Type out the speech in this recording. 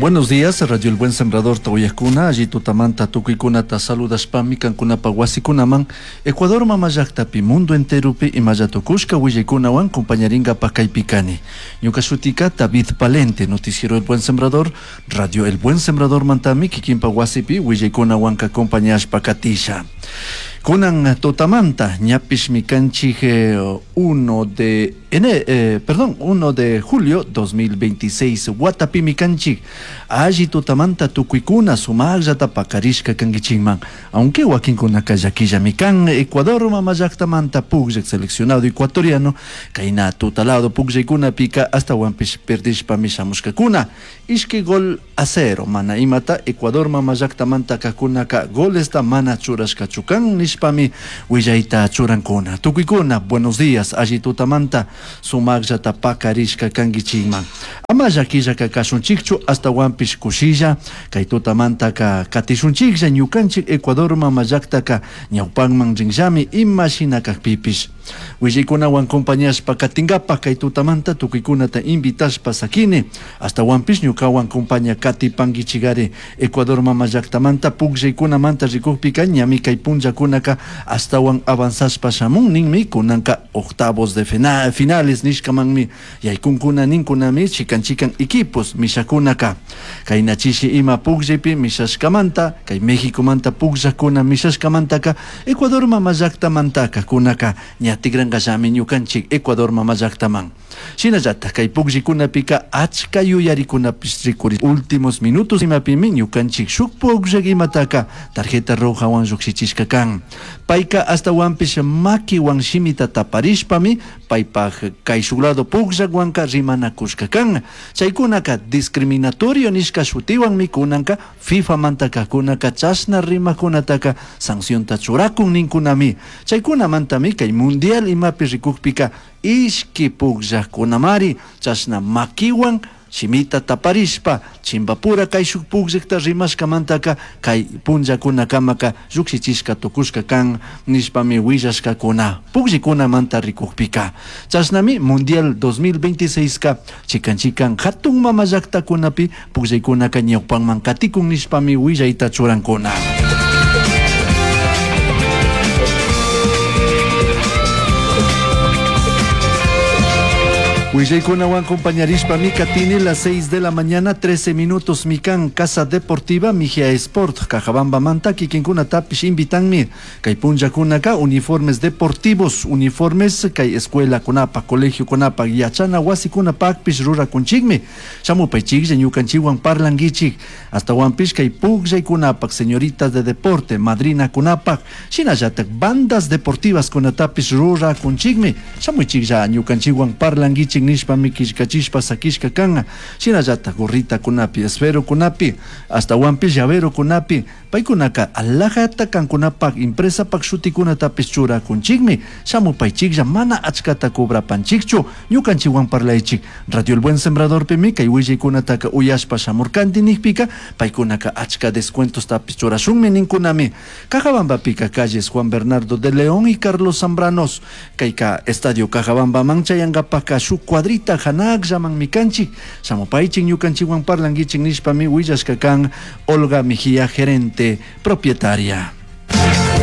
Buenos días, Radio El Buen Sembrador uyajkuna, alli tutamanta tukuykunata saludashpami kankunapa wasikunaman Ecuador mama llaktapi mundo enteropi imalla tukushka willaykunawan compañarinkapak kaypi kani. Ñuka shutika David Palente, noticiero El Buen Sembrador, Radio El Buen Sembrador mantami kikinpa wasipi willaykunawanka acompañashpa katisha. Kunan tutamanta ñapishmi kanchik 1 de perdón, 1 de julio 2026 watapimi kanchik alli tutamanta tukuykuna sumaqllata pakarishka kankichikman aunque wakinkunaka llakillami kan Ecuador mama llaktamanta pukllak seleccionado ecuatoriano kayna tutalado pukllaykunapika astawanpish perdishpami shamushkakuna ishki gol a 0 mana imata Ecuador mama llaktamanta kajkunaka golesta mana churashkachu kan nishpami willayta churankuna. Tukuykuna buenos días alli tutamanta sumaqllata pakarishka kankichikman ama llakillaka kashunchikchu astawanpish kushilla kay tutamantaka katishunchiklla ñukanchik Ecuador mama llaktaka ñawpanman rinllami ima shina kakpipish willaykunawan compañashpa katinkapak kay tutamanta tukuykunata invitashpa sakini astawanpish ñukawan compaña katipankichikari Ecuador mama llaktamanta pukllaykunamanta rikukpika ñami kay punllakunaka astawan avanzashpa shamun ninmi kunanka octavos de finales nishkamanmi yaykunkuna ninkunami chikan chikan equipos mishakunaka kayna chishi ima pukllaypi mishashkamanta kay Mexicomanta pukllakuna mishashkamantaka Ecuador mama llaktamantaka kunaka ña tikrankallami ñukanchik Ecuador mama llaktaman shinallatak kay pukllaykunapika achka yuyarikunapish rikuri últimos minutos imapimi ñukanchik shuk pukllak imataka tarjeta rojawan llukshichishka kan payka astawanpish makiwan shimita taparishpami paypaj kayshuk lado pukllakwanka rimanakushka kan chaykunaka discriminatorio nishka shutiwanmi kunanka FIFAmanta kajkunaka chashna rimakunataka sancionta churakun ninkunami chaykunamantami kay mundial imapi rikukpika ishki pukllakkunamari chashna makiwan shimita taparishpa chimbapura kayshuk pukllakta rimashkamantaka kay punllakunakamaka llukshichishka tukushka kan nishpami willashkakuna pukllikunamanta rikukpika chashnami mundial 2026 ka chikan chikan hatun mama llaktakunapi pukllaykunaka ñawpanman katikun nishpami willayta churankuna. Willaykunawan compañarishpami katini las 6 de la mañana 13 minutos mikan Casa Deportiva Mijia Sport Cajabamba kikinkunatapish invitanmi kay punllakunaka uniformes deportivos uniformes kay escuela kunapa colegio kunapa yachana wasikunapakpish rurakunchikmi shamupaychiklla ñukanchikwan parlankichik astawanpish kay pukllaykunapak señoritas de deporte madrina kunapak shinallatak bandas deportivas kunatapish rurakunchikmi shamuychiklla ñukanchikwan parlankichik nishpami killkachishpa sakishka kan shinallatak gorritakunapi esferokunapi astawanpish llaverokunapi paykunaka alhajata kankunapak empresapak shutikunatapish churakunchikmi shamupaychiklla mana achkata cobrapanchikchu ñukanchikwan parlaychik Radio El Buen Sembradorpimi kay willaykunataka uyashpa shamurkanti nikpika paykunaka achka descuentostapish churashunmi ninkunami Cajabambapika calles Juan Bernardo de León y Carlos Zambranos kayka Estadio Cajabambaman chayankapaka shuk cuadrita hanakllaman kanchik shamupaychik ñukanchikwan parlankichik nishpami willashka kan Olga Mejía gerente propietaria.